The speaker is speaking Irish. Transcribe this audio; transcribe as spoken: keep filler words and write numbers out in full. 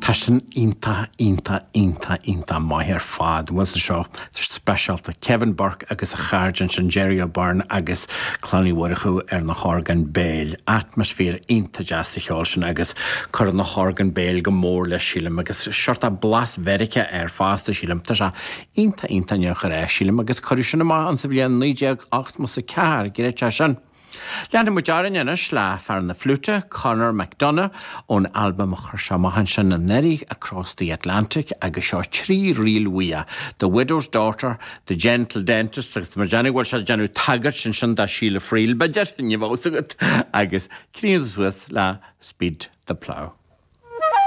Tá sin iontach iontach iontach iontach maith ar fad bhfuil seo speisialta Kevin Burke agus a chairde sin Jerry O'Byrne agus Clann Uí Mhurchú ar na horgáin béil. Atmaisféar iontach deas sa cheol sin agus cuireann na horgáin béil go mór le sílim agus seort blas Mheiriceá air fosta sílim Tá sé iontach iontach neochar é sílim agus cuireadh sin amach an sa bhliain naoi déag ochtó a ceathair gréite sin. Leanfaidh muid orainn anois le fear na fliúite Conor McDonough ón albam a chuir sé amach ansin anuraidh Across the Atlantic agus seo trí ríl uaidh, The Widow's Daughter, The Gentle Dentist agus mar déanamh bhfuil sé déanamh tagairt ansin do Sheila Friel b'fhéidir ní bheadh agat agus críochnóidh suas le Speed the Plough.